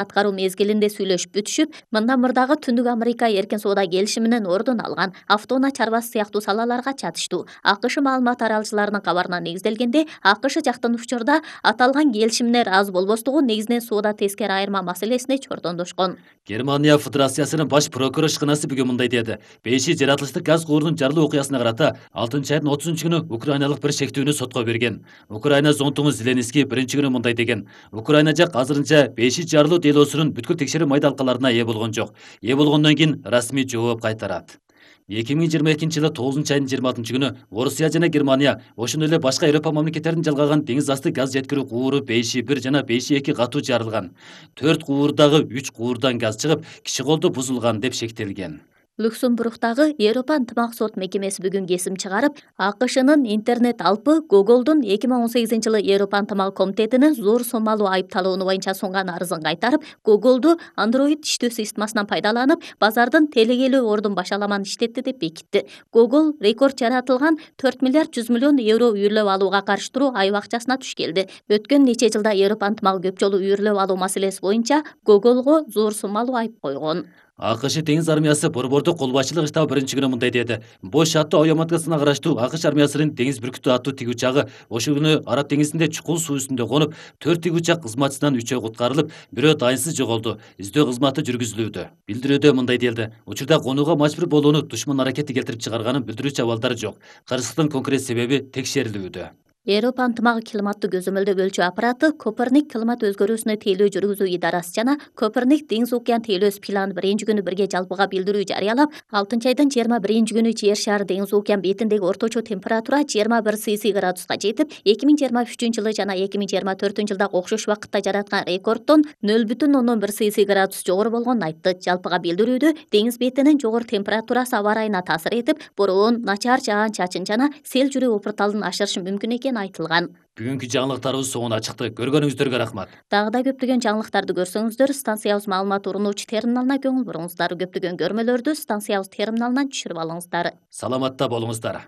аткаруу мезгилинде сүйлөшүп бүтүшүп, мындан мурдагы Түндүк Америка эркин соода келишиминин ордун алган автоунаа чарбасы сыяктуу салаларга чатыштуу. АКШ маалымат таралчыларынын кабарына негизделгенде, АКШ жактын учурда аталган келишимине ыраазы болбостугу негизинен соода тескери айырма маселесине чордондошкон. Германия Федерациясынын баш прокурор ишканасы бүгүн мындай деди. 5 жаратылыштык газ куурунун жарылуу окуясына карата 6-айдын 30-күнү украиналык бир шектүүнү сотко берген. Украина зонтугу Зеленский биринчи күнү мындай деген. Украина жак азырынча 5 жарылуу делосунун бүткүл текшерүү майдалкаларына ээ болгон жок. Ээ болгондон кийин расмий жооп кайтарат. 2022-жылы 9-айдын 26-күнү Орусия жана Германия, ошондой эле башка Европа мамлекеттеринин жалгаган деңиз асты газ жеткирүү кууру 5-1 жана 5-2 катуу жарылган. 4 куурдагы 3 куурдан газ чыгып, киши колду бузулган деп шектелген. Люксембургдагы Европа ынтымак сот мекемеси бүгүн кесим чыгарып, АКШнын интернет алпы Google'дун 2018-жылы Европа ынтымак комитетинин зор сомалуу айыпталууну боюнча сунган арызын кайтарып, Google'ду Android иштөө системасынан пайдаланып, базардын телегелүү ордун башаламан иштетти деп бекитти. Google рекорд жаратылган 4 миллиард 100 миллион евро үйүрлөп алууга каршы туруу айып акчасына туш келди. Өткөн нече жылда Европа ынтымак көп жолу үйүрлөп алуу маселеси боюнча Google'го зор сомалуу айып койгон. АКШ теңиз армиясы борбордук кол башчылык штабы биринчи күнү мындай деди. Бош аттуу ой маткасына караштуу АКШ армиясынын деңиз бүркүтү аттуу тиги учагы ошол күнү Араб деңизинде чукул суу үстүндө конуп, 4 тиги учак кызматчысынан 3-өө куткарылып, бирөө дайынсыз жоголду. Издөө кызматы жүргүзүлүүдө. Билдирүүдө мындай делди. Учурда конууга мажбур болууну душман аракети келтирип чыгарганын билдирүүчү абалдар жок. Кырсыктын конкрет себеби текшерилүүдө. Европа ынтымагы климаттуу көзөмөлдөп өлчөө аппараты Коперник климат өзгөрүүсүнө тейлөө жүргүзүү идарасы жана Коперник деңиз океан тейлөөсү планы биринчи күнү бирге жалпыга билдирүү жарыялап, 6-айдын 21-күнү Жер шары деңиз океан бетиндеги орточо температура 21 Цельсий градуска жетип, 2023-жылы жана 2024-жылдагы окшош убакытта жараткан рекорддон 0,1 Цельсий градус жогору болгонун айтты. Жалпыга билдирүүдө деңиз бетинин жогору температурасы аба ырайына таасир этип, бороон, начар жаан-чачын жана сел жүрүү опурталын ашырышы мүмкүн экени айтылган. Бүгүнкү жаңылыктарыбыз соңуна чыкты. Көргөнүңүздөргө рахмат. Дагы да көптөгөн жаңылыктарды көрсөңүздөр, станциябыз маалымат уруунуучу терминалына көңүл буруңуздар. Көптөгөн көрмөлөрдү станциябыз терминалынан түшүрүп алыңыздар. Саламатта болуңуздар.